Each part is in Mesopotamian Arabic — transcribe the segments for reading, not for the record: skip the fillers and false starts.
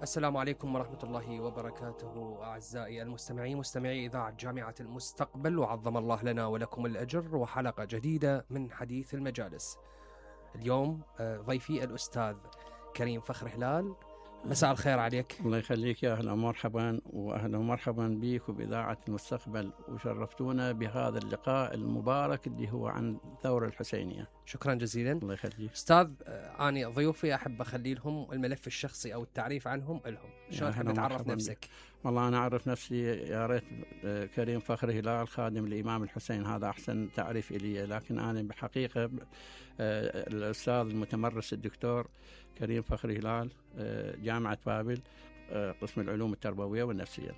السلام عليكم ورحمة الله وبركاته أعزائي المستمعين مستمعي إذاعة جامعة المستقبل، وعظم الله لنا ولكم الأجر، وحلقة جديدة من حديث المجالس. اليوم ضيفي الأستاذ كريم فخر هلال. مساء الخير عليك. الله يخليك، يا أهلا ومرحبا، وأهلا ومرحبا بك وبإذاعة المستقبل، وشرفتونا بهذا اللقاء المبارك اللي هو عن الثورة الحسينية. شكرا جزيلا. الله يخليك أستاذ. أنا ضيوفي أحب أخلي لهم الملف الشخصي أو التعريف عنهم لهم. شلون تحب تعرف نفسك؟ والله أنا أعرف نفسي يا ريت كريم فخر هلال خادم الإمام الحسين، هذا أحسن تعريف إلي، لكن أنا بحقيقة الأستاذ المتمرس الدكتور كريم فخر هلال، جامعة بابل، قسم العلوم التربوية والنفسية.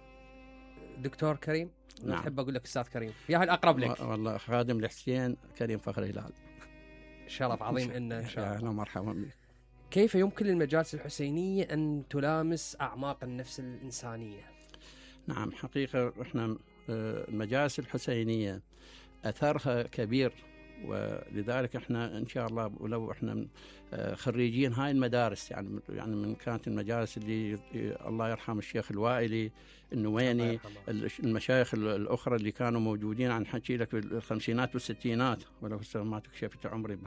دكتور كريم؟ نعم. أحب أقول لك أستاذ كريم، يا هل أقرب لك. والله خادم الحسين كريم فخر هلال. شرف عظيم إن شاء الله. أهلا ومرحبا بك. كيف يمكن للمجالس الحسينية أن تلامس أعماق النفس الإنسانية؟ نعم، حقيقة إحنا المجالس الحسينية أثرها كبير، ولذلك احنا ان شاء الله ولو احنا خريجين هاي المدارس، يعني من كانت المجالس اللي الله يرحم الشيخ الوائلي النويني، المشايخ الاخرى اللي كانوا موجودين، عن حكي لك بالخمسينات والستينات، ولو ما تكشفت عمري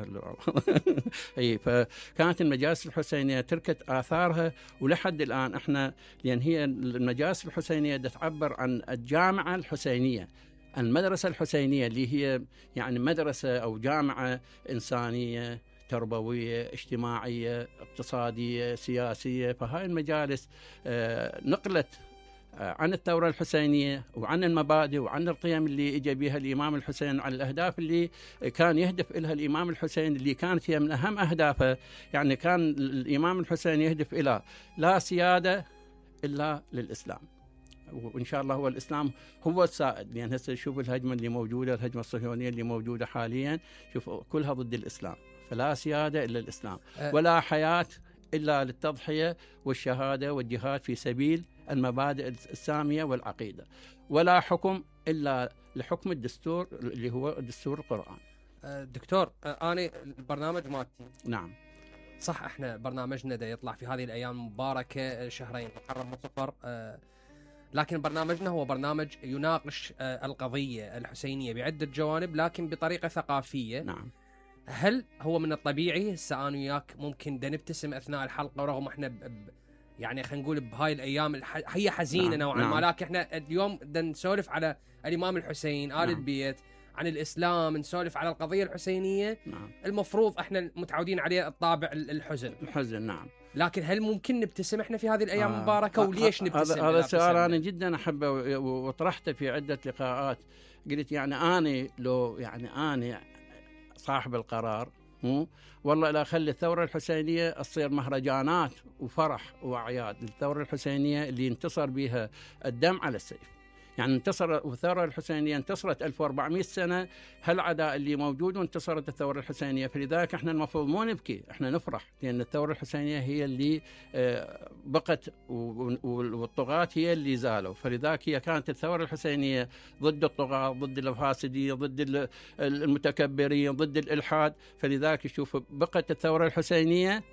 اي فكانت المجالس الحسينيه تركت اثارها، ولحد الان احنا، لان هي المجالس الحسينيه تعبر عن الجامعه الحسينيه، المدرسة الحسينية اللي هي يعني مدرسة أو جامعة إنسانية تربوية اجتماعية اقتصادية سياسية. فهاي المجالس نقلت عن الثورة الحسينية وعن المبادئ وعن القيم اللي اجى بها الإمام الحسين، عن الأهداف اللي كان يهدف إلها الإمام الحسين، اللي كانت هي من أهم أهدافه. يعني كان الإمام الحسين يهدف إلى لا سيادة إلا للإسلام، وإن شاء الله هو الإسلام هو السائد. لأن هسه شوف الهجمة اللي موجودة، الهجمة الصهيونية اللي موجودة حاليا، شوف كلها ضد الإسلام. فلا سيادة إلا الإسلام، ولا حياة إلا للتضحية والشهادة والجهاد في سبيل المبادئ السامية والعقيدة، ولا حكم إلا لحكم الدستور اللي هو دستور القرآن. دكتور، أنا البرنامج مالتي نعم صح، احنا برنامجنا دا يطلع في هذه الأيام المباركة، شهرين محرم وصفر، لكن برنامجنا هو برنامج يناقش القضية الحسينية بعدة جوانب، لكن بطريقة ثقافية. نعم. هل هو من الطبيعي هسه أنا وياك ممكن دا نبتسم أثناء الحلقة، ورغم احنا يعني خلينا نقول بهاي الأيام هي حزينة نوعا ما، لكن احنا اليوم دا نسولف على الإمام الحسين، آل البيت، عن الإسلام، نسولف على القضية الحسينية. المفروض احنا متعودين عليه الطابع الحزن. نعم. لكن هل ممكن نبتسم احنا في هذه الايام المباركه؟ وليش نبتسم؟ هذا السؤال انا جدا احبه وطرحته في عده لقاءات. قلت يعني انا لو يعني انا صاحب القرار، والله لا اخلي الثوره الحسينيه تصير مهرجانات وفرح واعياد. الثوره الحسينيه اللي انتصر بها الدم على السيف، يعني انتصر الثورة الحسينية، انتصرت 1400 سنة هالعداء اللي موجود، وانتصرت الثورة الحسينية. فلذلك احنا المفروض مو نبكي، احنا نفرح، لأن الثورة الحسينية هي اللي بقت، والطغاة هي اللي زالوا. فلذلك هي كانت الثورة الحسينية ضد الطغاة، ضد الفاسدين، ضد المتكبرين، ضد الإلحاد. فلذلك شوف بقت الثورة الحسينية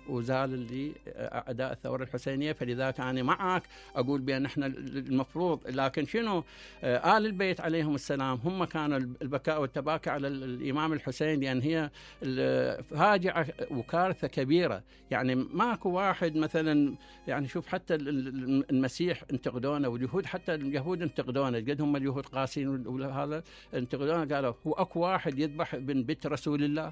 وزال اللي أعداء الثورة الحسينية. فلذلك أنا معك أقول بأن احنا المفروض، لكن شنو آل البيت عليهم السلام هم كانوا البكاء والتباكي على الإمام الحسين، لأن هي فاجعة وكارثة كبيرة. يعني ماكو واحد مثلا، يعني شوف حتى المسيح انتقدونه، واليهود حتى اليهود انتقدونه، قد هم اليهود قاسين وهذا انتقدونه، قالوا هو أكو واحد يذبح من بيت رسول الله،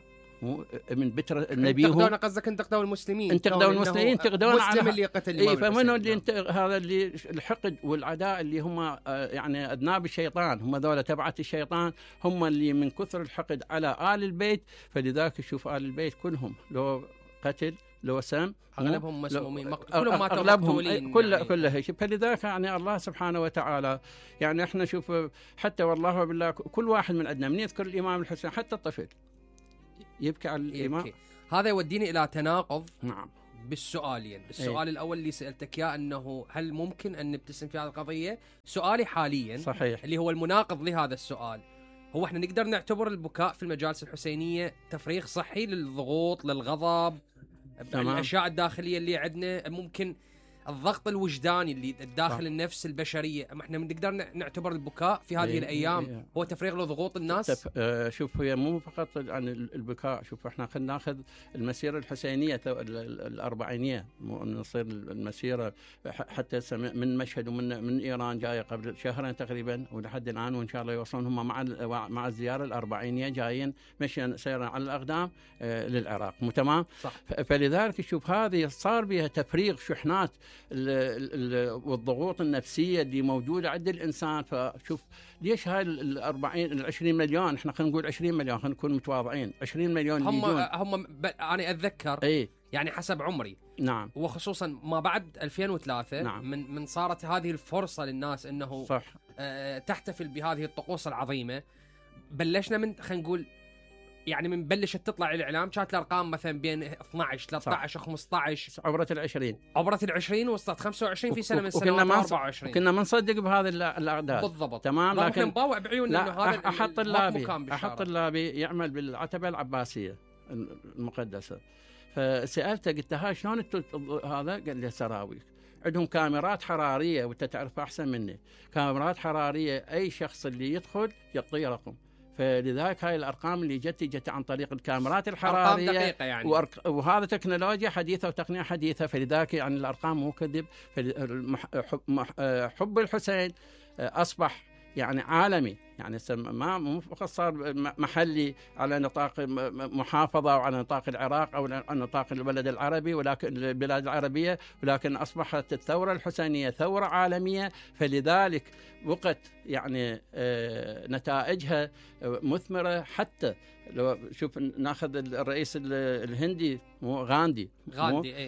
من بتر النبي. انتقدونا، قصدك انتقدوا المسلمين، انتقدوا المسلمين، انتقدونا على اللي قتل الإمام الحسين. فمنو اللي هذا اللي الحقد والعداء اللي هم يعني أذناب الشيطان، هم ذولا تبعت الشيطان، هم اللي من كثر الحقد على آل البيت. فلذلك شوف آل البيت كلهم لو قتل لو سم، اغلبهم مسمومين، كلهم ماتوا مقتولين، كلها. فلذلك يعني الله سبحانه وتعالى، يعني احنا شوف حتى والله بالله كل واحد من عندنا من يذكر الإمام الحسين، حتى الطفل يبكي على الإمام. هذا يوديني إلى تناقض. نعم. بالسؤالين. السؤال الأول اللي سألتك إياه أنه هل ممكن أن نبتسم في هذه القضية؟ سؤالي حاليا صحيح اللي هو المناقض لهذا السؤال، هو احنا نقدر نعتبر البكاء في المجالس الحسينية تفريغ صحي للضغوط، للغضب، الأشياء الداخلية اللي عندنا؟ ممكن الضغط الوجداني اللي داخل النفس البشريه، ما احنا نقدر نعتبر البكاء في هذه الايام هو تفريغ لضغوط الناس. شوف هي مو فقط عن البكاء، شوف احنا خلينا ناخذ المسيره الحسينيه الاربعينيه، نصير المسيره حتى من مشهد ومن ايران جايه قبل شهرين تقريبا ولحد الان، وان شاء الله يوصلون هم مع الزياره الاربعينيه جايين مشيا سيرا على الاقدام للعراق، مو تمام؟ صح. فلذلك شوف هذه صار بها تفريغ شحنات والضغوط النفسيه اللي موجوده عند الانسان. فشوف ليش هاي ال 20 مليون، احنا خلينا نقول 20 مليون، خلينا نكون متواضعين، 20 مليون هم انا اتذكر يعني حسب عمري، نعم، وخصوصا ما بعد 2003، نعم، من صارت هذه الفرصه للناس انه صح تحتفل بهذه الطقوس العظيمه. بلشنا من خلينا نقول يعني من بلشت تطلع الاعلام كانت الارقام مثلا بين 12 13 15، عبرت ال20 وصلت 25 في سنه من السنوات 24. كنا ما نصدق بهذه الاعداد بالضبط، تمام، لكن نباوع بعيوننا انه هذا احط طلابي يعمل بالعتبه العباسيه المقدسه. فسالته قلت ها شلون هذا؟ قال لي سراويك عندهم كاميرات حراريه، وانت تعرف احسن مني، كاميرات حراريه اي شخص اللي يدخل يعطيه رقم. فلذلك هاي الارقام اللي جت عن طريق الكاميرات الحراريه، ارقام دقيقه يعني، وهذا تكنولوجيا حديثه وتقنيه حديثه. فلذلك يعني الارقام مو كذب. حب الحسين اصبح يعني عالمي، يعني ما مو فقط صار محلي على نطاق محافظه او على نطاق العراق او على نطاق البلد العربي، ولكن البلاد العربيه، ولكن اصبحت الثوره الحسينيه ثوره عالميه. فلذلك وقت يعني نتائجها مثمره. حتى لو شوف ناخذ الرئيس الهندي غاندي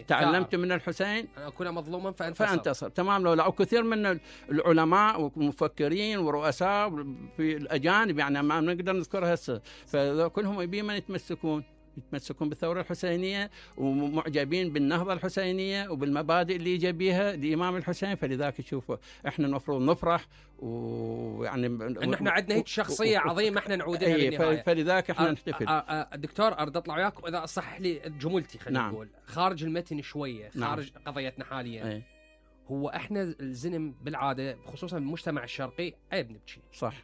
تعلمت من الحسين أن أكون مظلوما فانتصر. تمام. لو كثير من العلماء والمفكرين ورؤساء في الأجانب يعني ما نقدر نذكرها هسه، فكلهم يبين من يتمسكون بالثورة الحسينية ومعجبين بالنهضة الحسينية وبالمبادئ اللي جاء بها الإمام الحسين. فلذلك تشوفوا احنا المفروض نفرح، ويعني ان احنا عندنا هيك شخصية عظيمة احنا نعودها للنهاية. فلذلك احنا نحتفل. دكتور ارد اطلع وياك واذا صح لي جملتي، خلينا نقول خارج المتن شوية، خارج قضيتنا حاليا. هو احنا الزلم بالعادة خصوصا بالمجتمع الشرقي عيب نبكي، صح.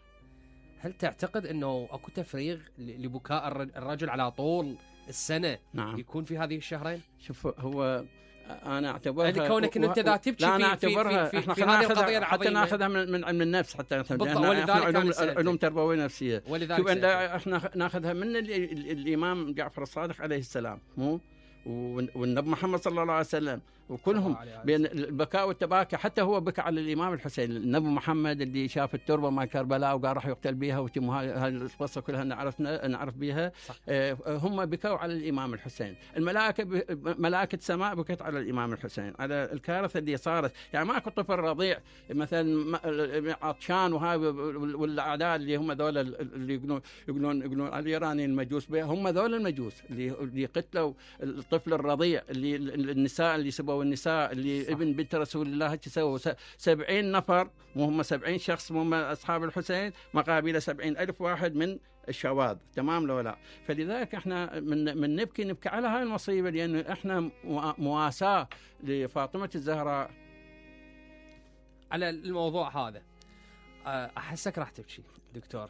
هل تعتقد انه اكو تفريغ لبكاء الرجل على طول السنة؟ نعم. يكون في هذه الشهرين؟ شوف هو انا اعتبرها يعني كونك انت اذا تبكي لا انا اعتبرها في هذه القضيه العظيمه حتى ناخذها من علم النفس، حتى ولذلك علوم تربويه نفسيه. ولذلك شوف احنا ناخذها من الامام جعفر الصادق عليه السلام، مو والنبي محمد صلى الله عليه وسلم، وكلهم بين البكاء والتباكي. حتى هو بكى على الإمام الحسين، النبي محمد اللي شاف التربة مع كربلاء وقال راح يقتل بها، هاي القصة كلها نعرف بها. هم بكوا على الإمام الحسين. ملائكة سماء بكت على الإمام الحسين على الكارثة اللي صارت. يعني ماكو طفل رضيع مثلا عطشان وهاي، والأعداء اللي هم ذول اللي يقولون على الإيرانيين المجوس بها، هم ذول المجوس اللي قتلوا الطفل الرضيع، اللي النساء اللي سبوا النساء، اللي صح. ابن بنت رسول الله سووا 70 نفر، مو هم 70 شخص، مو هم أصحاب الحسين، مقابل 70,000 واحد من الشواذ. تمام لو لا؟ فلذلك احنا من نبكي على هاي المصيبة، لأن احنا مواساة لفاطمة الزهراء على الموضوع هذا. أحسك راح تبكي دكتور.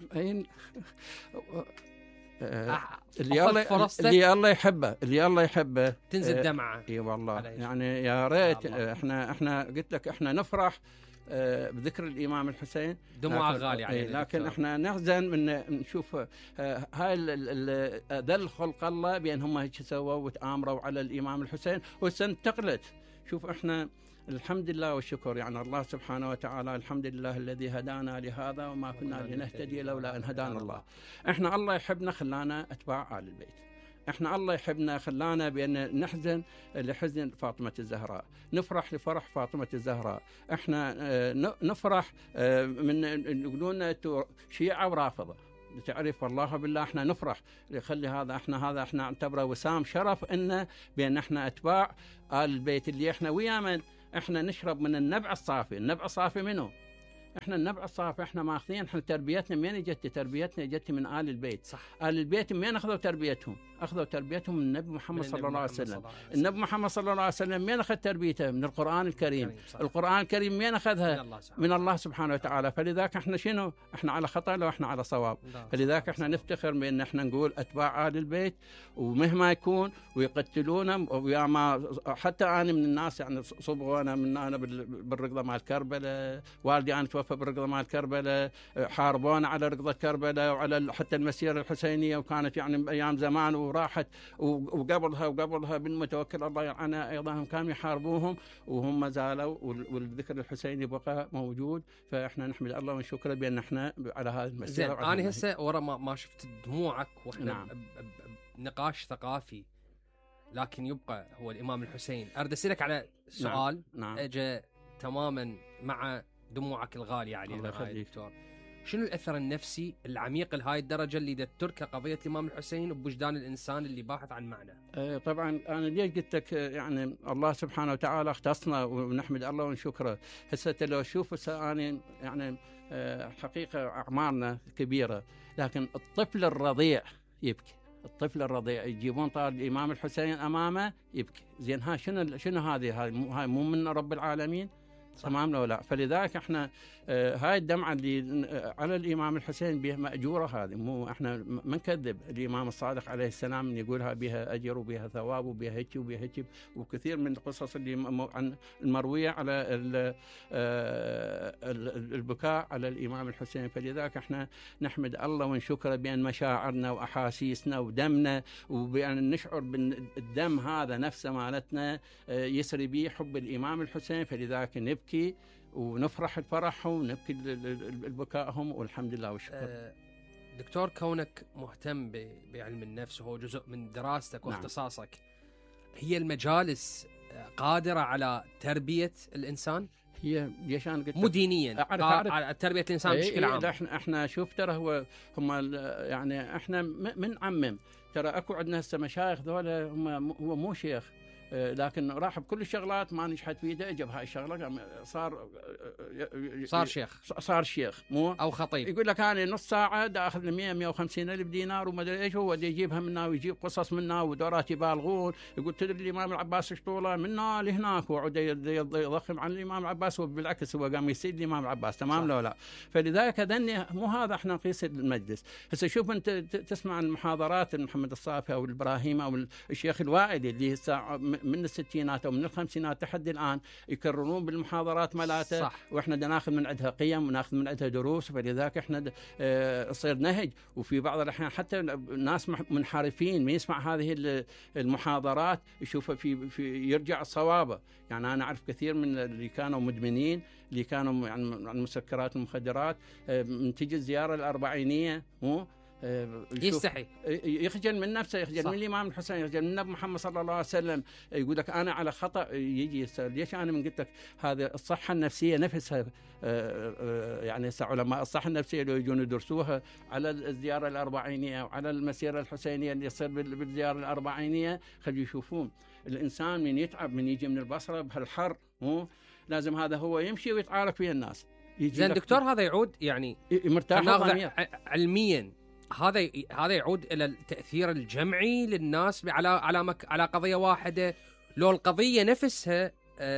اللي الله يحبه تنزل دمعة. اي والله يعني يا ريت احنا قلت لك احنا نفرح بذكر الامام الحسين، دموع غالية علينا، لكن احنا نحزن من نشوف هاي ذل خلق الله بان هم هيك سووا وتآمروا على الامام الحسين وسنتقلت. شوف احنا الحمد لله والشكر، يعني الله سبحانه وتعالى، الحمد لله الذي هدانا لهذا وما كنا لنهتدي لولا أن هدانا الله. احنا الله يحبنا خلانا أتباع آل البيت، احنا الله يحبنا خلانا بأن نحزن لحزن فاطمة الزهراء، نفرح لفرح فاطمة الزهراء. احنا نفرح من يقولون شيعة ورافضة، تعرف والله بالله احنا نفرح يخلي هذا احنا نعتبره وسام شرف انه بان احنا اتباع آل البيت، اللي احنا ويا من احنا نشرب من النبع الصافي. النبع الصافي منه؟ احنا النبع الصافي احنا ماخذين. احنا تربيتنا من جت؟ تربيتنا جت من آل البيت. صح. آل البيت من اخذوا تربيتهم؟ اخذوا تربيتهم من النبي محمد صلى الله عليه وسلم. النبي محمد صلى الله عليه وسلم من اخذ تربيته؟ من القرآن الكريم. القرآن الكريم من اخذها؟ من الله سبحانه وتعالى. فلذلك احنا شنو؟ احنا على خطأ لو احنا على صواب. فلذلك احنا نفتخر بان احنا نقول اتباع آل البيت، ومهما يكون ويقتلونا. ويا ما حتى انا من الناس يعني صبغوا انا بالرقضه مال كربلاء، والدي انا توفى بالرقضه مال كربلاء، حاربونا على رقضه كربلاء وعلى حتى المسيره الحسينيه، وكانت يعني ايام زمان وراحت، وقبلها بالمتوكل الله يلعنه ايضا هم كانوا يحاربوهم وهم زالوا، والذكر الحسيني بقى موجود. فاحنا نحمد الله ونشكره بان احنا على هذه المسيره. انا هسه ورا ما شفت دموعك واحنا نعم. نقاش ثقافي، لكن يبقى هو الامام الحسين. اريد اسالك على سؤال نعم. اجى تماما مع دموعك الغاليه علينا هاي دكتور. شنو الاثر النفسي العميق لهاي الدرجه اللي تتركه قضيه الامام الحسين بوجدان الانسان اللي باحث عن معنى؟ طبعا انا ليش قلت لك يعني الله سبحانه وتعالى اختصنا ونحمد الله ونشكره. هسه لو تشوف انا يعني حقيقه اعمارنا كبيره، لكن الطفل الرضيع يبكي. الطفل الرضيع يجيبون طال الامام الحسين امامه يبكي. زين ها شنو هاي مو من رب العالمين؟ تمام لو لا. فلذلك احنا هاي الدمعه اللي على الامام الحسين بها ماجوره، هذه مو احنا ما نكذب. الامام الصادق عليه السلام يقولها بها اجر وبها ثواب وبها هيك وبها هيك، وكثير من القصص اللي عن المرويه على البكاء على الامام الحسين. فلذلك احنا نحمد الله ونشكره بان مشاعرنا واحاسيسنا ودمنا، وبان نشعر بالدم هذا نفسه مالتنا يسري به حب الامام الحسين. فلذلك نبكي ونفرح الفرحهم ونبكي البكائهم، والحمد لله والشكر. دكتور، كونك مهتم بعلم النفس وهو جزء من دراستك واختصاصك، هي المجالس قادرة على تربية الإنسان؟ هي ليش انا قلت مو دينيا، على تربية الإنسان بشكل عام. احنا شوف ترى هم يعني احنا من عمم ترى اكو عندنا هسه مشايخ ذولا هو مو شيخ، لكن راح بكل الشغلات ما نجحت فيه، اجى بهاي الشغله صار شيخ مو او خطيب. يقول لك انا نص ساعه دا اخذ لي 150 الف دينار وما ادري ايش، هو يجيبها منا ويجيب قصص منا ودورات يبالغون. يقول تدري الامام العباس ايش طوله منا لهناك، وعود يضخم عن الامام العباس، وبالعكس هو قام يسيد الامام العباس. تمام لو لا. فلذلك هذني مو هذا احنا نقيس المجلس. هسه شوف انت تسمع المحاضرات محمد الصافي او الابراهيم او الشيخ الوائدي اللي من الستينات او من الخمسينات لحد الان يكررون بالمحاضرات مالاته، واحنا ناخذ من عندها قيم وناخذ من عندها دروس. فلذلك احنا تصير نهج. وفي بعض الاحيان حتى ناس منحرفين من يسمع هذه المحاضرات يشوف في يرجع صوابه. يعني انا اعرف كثير من اللي كانوا مدمنين، اللي كانوا يعني عن المسكرات والمخدرات، من تجي الزياره الاربعينيه مو يستحي، يخجل من نفسه، يخجل من الامام الحسين، يخجل من النبي محمد صلى الله عليه وسلم. يقول لك انا على خطا. يجي ليش انا من قلت لك هذه الصحه النفسيه نفسها، يعني علماء الصحه النفسيه لو يجون يدرسوها على الزياره الاربعينيه وعلى المسيره الحسينيه اللي يصير بالزياره الاربعينيه، خلي يشوفون الانسان من يتعب، من يجي من البصره بهالحر مو لازم هذا هو يمشي ويتعارك فيه الناس. زين دكتور، هذا يعود يعني مرتاح علميا، هذا يعود الى التاثير الجمعي للناس على قضيه واحده. لو القضيه نفسها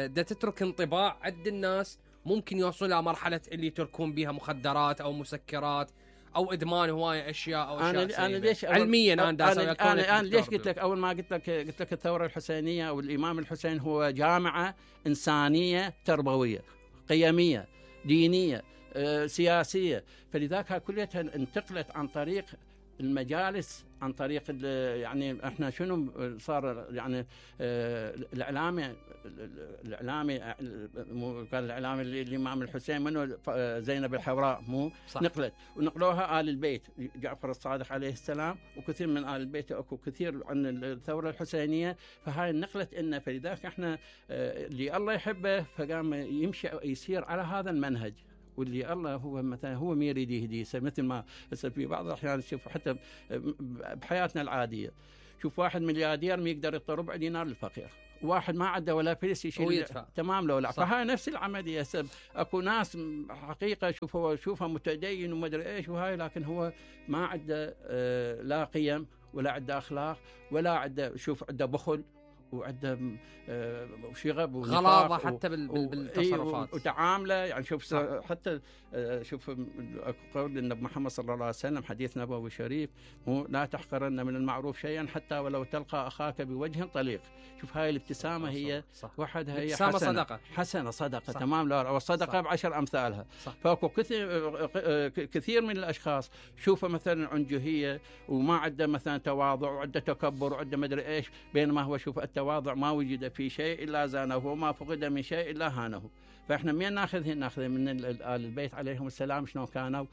دا تترك انطباع عند الناس، ممكن يوصلوا الى مرحله اللي يتركون بها مخدرات او مسكرات او ادمان هوايه اشياء او اشياء أنا ليش علميا انا ليش قلت لك اول ما قلت لك الثوره الحسينيه او الامام الحسين هو جامعه انسانيه تربويه قيميه دينيه سياسيه. فلذلك كلها انتقلت عن طريق المجالس، عن طريق يعني احنا شنو صار يعني الاعلامي كان الاعلامي الامام الحسين منه زينب الحوراء مو صح. ونقلوها آل البيت جعفر الصادق عليه السلام، وكثير من آل البيت اكو كثير عن الثوره الحسينيه. فهاي نقلت لنا. فلذلك احنا اللي الله يحبه فقام يمشي يسير على هذا المنهج، واللي الله هو مثلا هو ما يريد يهديه. مثل ما في بعض الاحيان نشوف حتى بحياتنا العاديه، شوف واحد ملياردير ما يقدر يعطي ربع دينار للفقير، واحد ما عنده ولا فلس يشيل تمام لو لا. فهاي نفس العمليه. اكو ناس حقيقه شوفها متدين وما ادري ايش وهاي، لكن هو ما عنده لا قيم ولا عنده اخلاق ولا عنده، شوف عنده بخل وعنده شغب غلاظه حتى بالتصرفات وتعامله. يعني شوف حتى شوف قول النبي محمد صلى الله عليه وسلم، حديث نبوي شريف، لا تحقرن من المعروف شيئا حتى ولو تلقى اخاك بوجه طليق. شوف هاي الابتسامه هي وحدها هي حسنه صدقه. تمام. لا والصدقه ب10 امثالها. فاكو كثير من الاشخاص شوفه مثلا عنجهيه وما عنده مثلا تواضع وعنده تكبر وعنده مدري ايش، بينما هو شوف التواضع ما وجد في شيء الا زانه وما فقد من شيء الا هانه. فاحنا من ناخذ من آل البيت عليهم السلام شلون كانوا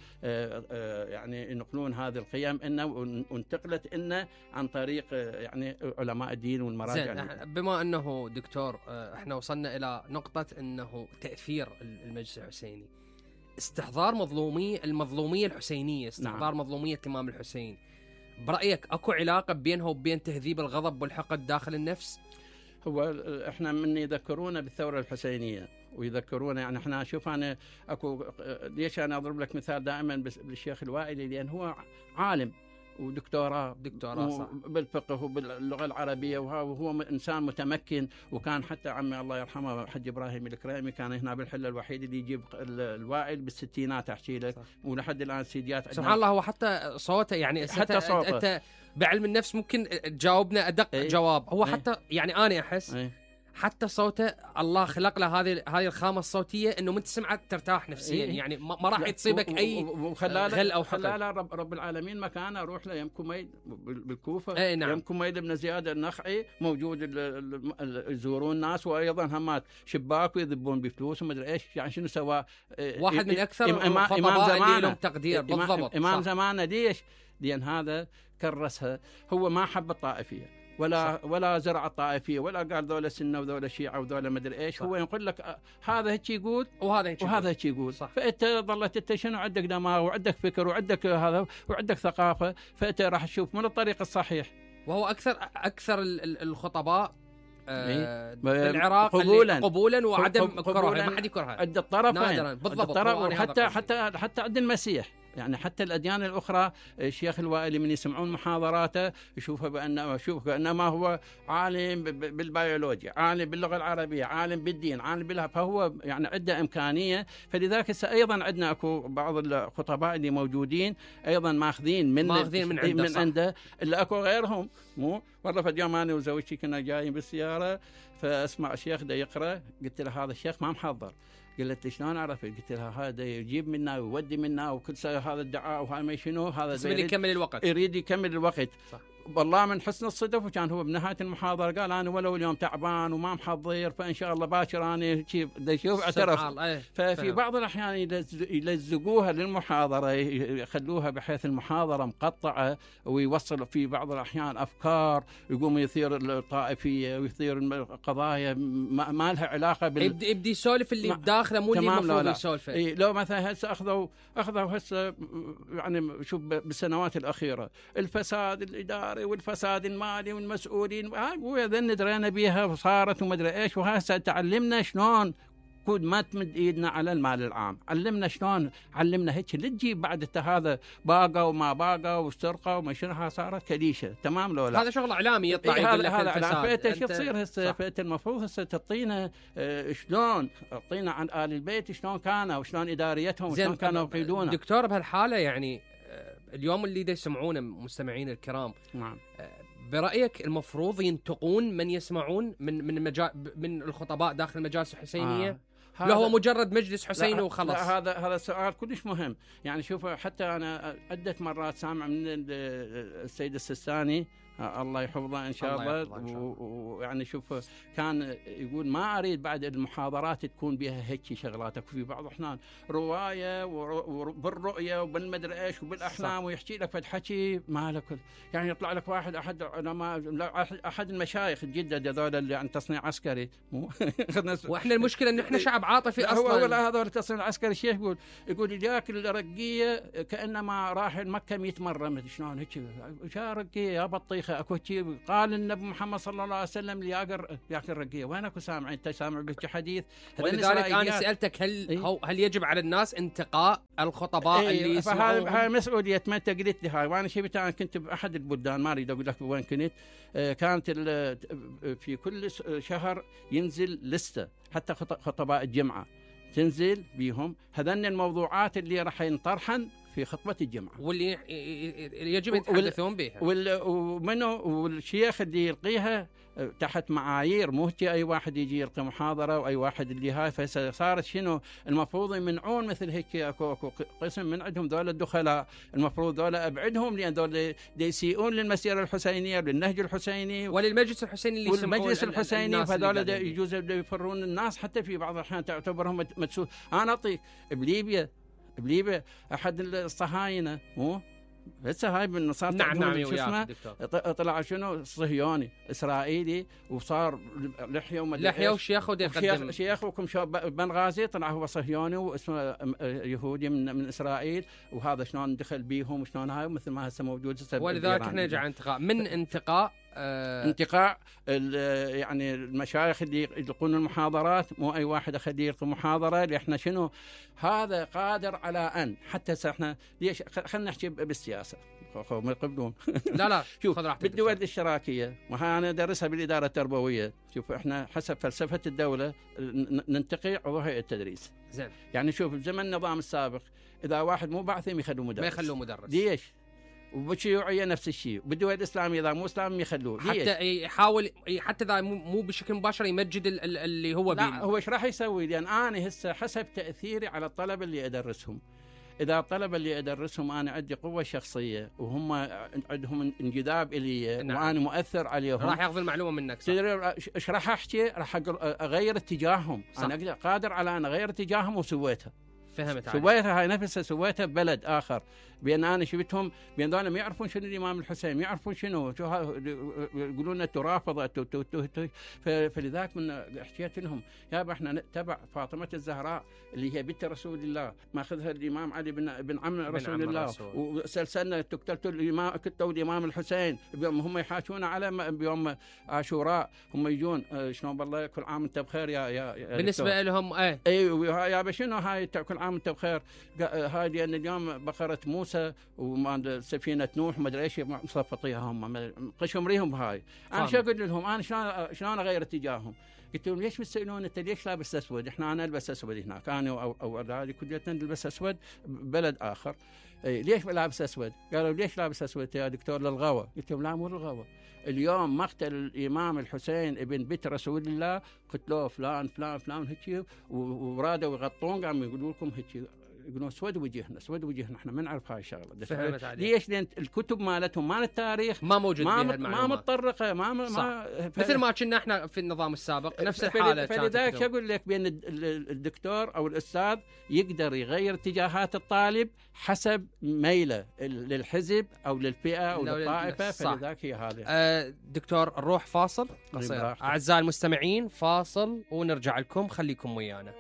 يعني ينقلون هذه القيم انه وانتقلت انه عن طريق يعني علماء الدين والمراجع. بما انه دكتور احنا وصلنا الى نقطة انه تأثير المجلس الحسيني، استحضار المظلومية الحسينية، استحضار مظلومية الإمام الحسين، برأيك اكو علاقة بينها وبين تهذيب الغضب والحقد داخل النفس؟ هو احنا من يذكرونا بالثورة الحسينية ويذكرونا، يعني احنا شوف انا اكو ليش انا اضرب لك مثال دائما بالشيخ الوائلي، لان هو عالم ودكتوراه صح بالفقه وباللغه العربيه، وهو انسان متمكن. وكان حتى عمي الله يرحمه حج ابراهيم الكريمي كان هنا بالحله الوحيد اللي يجيب الوائل بالستينات احكي لك، ولحد الان سيديات سبحان الله. هو حتى صوته يعني حتى صوته انت بعلم النفس ممكن تجاوبنا ادق جواب. هو حتى يعني انا احس حتى صوته الله خلق له هذه الخامه الصوتيه انه من تسمعه ترتاح نفسيا. يعني ما راح تصيبك اي غل او حقد. لا رب العالمين مكانه. اروح له يم كميل بالكوفه، نعم. يم كميل بن زياد النخعي موجود يزورون الناس، وايضا همات شباك ويذبون بفلوس وما ادري ايش. يعني شنو سوى واحد من اكثر الخطباء اللي لهم تقدير بالضبط. امام زمانه ليش؟ لان هذا كرسها. هو ما حب الطائفيه ولا زرع الطائفيه ولا قال ذولا سنه وذولا شيعه وذولا مدري ايش. هو يقول لك هذا هيك يقول وهذا هيك يقول. فانت ظلت انت شنو عندك دماغ وعندك فكر وعندك هذا وعندك ثقافه، فانت راح تشوف من الطريق الصحيح. وهو اكثر الخطباء في العراق قبولا وعدم كرها. ما حد يكرهها عند الطرفين بالضبط. حتى عند المسيح، يعني حتى الأديان الأخرى الشيخ الوائلي من يسمعون محاضراته يشوفه بأنما هو عالم بالبيولوجيا، عالم باللغة العربية، عالم بالدين، عالم بالها. فهو يعني عنده إمكانية. فلذلك أيضا عندنا أكو بعض الخطباء اللي موجودين أيضا ماخذين من عنده اللي أكو غيرهم. مو والله في اليوم أنا وزوجتي كنا جايين بالسيارة فأسمع الشيخ دا يقرأ، قلت له هذا الشيخ ما محضر. قالت لي شلون عرفت؟ قلت لها هذا يجيب منا ويودي منا وكل هذا الدعاء وهذا ما شنو هذا يريد يكمل الوقت. صح. والله من حسن الصدف وكان هو بنهايه المحاضره قال انا ولو اليوم تعبان وما محضر فان شاء الله باكر انا شوف اعترف. ففي بعض الاحيان يلزقوها للمحاضره، يخلوها بحيث المحاضره مقطعه، ويوصل في بعض الاحيان افكار يقوم يثير الطائفيه ويثير القضايا ما لها علاقه يبدي يسولف اللي بداخله مو اللي المفروض يسولفه. لو مثلا هسه اخذوا هسه يعني شوف بالسنوات الاخيره الفساد الاداري والفساد المالي والمسؤولين وهذا درينا بيها وصارت وما ادري ايش. وهسه تعلمنا شلون كود ما تمد ايدنا على المال العام، علمنا شلون، علمنا هيك اللي تجيب بعد هذا باقه وما باقه والسرقه وما شنها صارت كليشه. تمام لو لا؟ هذا شغل اعلامي يطلع يقول لك الفساد. فانت شو تصير هسه؟ فانت المفروض هسه تعطينا شلون، تعطينا عن آل البيت شلون كانوا وشلون اداريتهم وشلون كانوا يقيدونا. دكتور بهالحاله يعني اليوم اللي يسمعونه مستمعين الكرام، نعم، برأيك المفروض ينتقون من يسمعون من الخطباء داخل المجالس الحسينية؟ لا هو مجرد مجلس حسيني وخلص؟ لا هذا سؤال كلش مهم. يعني شوف حتى أنا عدة مرات سامع من السيد السيستاني الله يحفظه إن شاء الله. ويعني شوف كان يقول ما أريد بعد المحاضرات تكون بها هيك شغلاتك. في بعض الأحيان رواية وبالرؤية وبالمدري إيش وبالأحلام ويحكي لك فد حكي ما لك. يعني يطلع لك واحد أحد المشايخ جدة هذول اللي عن تصنيع عسكري وإحنا المشكلة إن إحنا شعب عاطفي أصلا. هو هذول التصنيع العسكري الشيخ يقول ياك الرقية كأنما راح مكة 100 مرة. شلون هيك؟ شا رقية يا بطيخ تاريخه اكو شيء قال النبي محمد صلى الله عليه وسلم لياقر رقيه، وين اكو سامعين؟ انت سامع بك حديث؟ ولذلك انا سالتك هل يجب على الناس انتقاء الخطباء اللي يسمعون؟ هاي مسؤوليه ما انت قلت لي هاي، وانا شفت انا كنت باحد البلدان ما اريد اقول لك وين كنت، كانت في كل شهر ينزل لسته حتى خطباء الجمعه تنزل بيهم هذن الموضوعات اللي راح ينطرحن في خطبة الجمعة واللي يجب يتحدثون بها، والشيخ اللي يلقيها تحت معايير، مو اي واحد يجي يلقي محاضرة واي واحد اللي هاي. فصارت شنو المفروض يمنعون مثل هيك، اكو قسم من عندهم ذول الدخلاء، المفروض ذول ابعدهم، لان ذول يسيئون للمسيرة الحسينية للنهج الحسيني وللمجلس الحسيني اللي والمجلس الحسيني، فذول يجوز يفرون الناس حتى في بعض الاحيان تعتبرهم مدسوس. انا اعطيك بليبيا احد الصهاينه مو هسه هاي من صار نعم شو اسمه طلع شنو صهيوني اسرائيلي وصار لحيه وشيخ وديقدم شيخ وكم بنغازي طلع هو صهيوني واسمه يهودي من اسرائيل، وهذا شلون دخل بيهم وشلون هاي مثل ما هسه موجود. ولذلك احنا نجي على انتقاء من انتقاء يعني المشايخ اللي يلقون المحاضرات، مو اي واحد اخليه يلقي محاضره، اللي احنا شنو هذا قادر على ان حتى احنا ليش خلينا نحكي بالسياسه ما يقبلون لا شوف بالدول الاشتراكيه، وها انا ادرسها بالاداره التربويه. شوف احنا حسب فلسفه الدوله ننتقي عضو هيئه التدريس زين. يعني شوف بزمن النظام السابق اذا واحد مو بعثهم يخلوه مدرس، ما يخلوه مدرس. ليش؟ وبالشيوعيه نفس الشيء، بالدول الاسلاميه اذا مو اسلام يخلوه حتى يحاول حتى اذا مو بشكل مباشر يمجد اللي هو لا هو ايش راح يسوي؟ لان انا هسه حسب تاثيري على الطلبه اللي ادرسهم، اذا الطلبه اللي ادرسهم انا عندي قوه شخصيه وهم عندهم انجذاب الي وانا مؤثر عليهم، راح ياخذ المعلومه منك. تدري ايش راح احكي؟ راح اغير اتجاههم. صح. انا قادر على ان اغير اتجاههم وسويتها. فهمت سويتها هاي نفسها سويتها ببلد اخر، بان انا شفتهم بان ذول ما يعرفون شنو الامام الحسين، ما يعرفون شنو يقولون لنا ترافض. فلذلك من حكيت لهم يابا احنا نتبع فاطمه الزهراء اللي هي بنت رسول الله، ماخذها الامام علي بن عم رسول الله، وسلسلنا قتلوا الامام الحسين هم يحاكون على بيوم عاشوراء، هم يجون شلون بالله كل عام انت بخير يا بالنسبه لهم اي يابا شنو هاي كل عام انت بخير. هاي لان اليوم بقره موسى وسفينه نوح ما ادري ايش مصفطيها هم قشم ريهم هاي. انا شو اقول لهم؟ انا شلون اغير اتجاههم؟ قلت لهم ليش بتسالون انت ليش لابس اسود؟ انا البس اسود هناك، انا او هذه كليتنا نلبس اسود ببلد اخر. ليش لابس اسود؟ قالوا ليش لابس اسود يا دكتور؟ للغوى. قلت لهم لا مو للغوى، اليوم مقتل الامام الحسين ابن بنت رسول الله قتلوه فلان فلان فلان هيك، ورادوا يغطون قاموا يقولوا لكم هيك، يقولون اسود وجهنا احنا ما نعرف هاي الشغله. ليش؟ لان الكتب مالتهم مال التاريخ ما موجود بها ما متطرقه مثل ما كنا احنا في النظام السابق نفس الحاله. فلذلك اقول لك بان الدكتور او الاستاذ يقدر يغير اتجاهات الطالب حسب ميله للحزب او للفئه او للطائفه. فلذلك هي هذه. دكتور نروح فاصل قصير اعزائي المستمعين، فاصل ونرجع لكم، خليكم ويانا.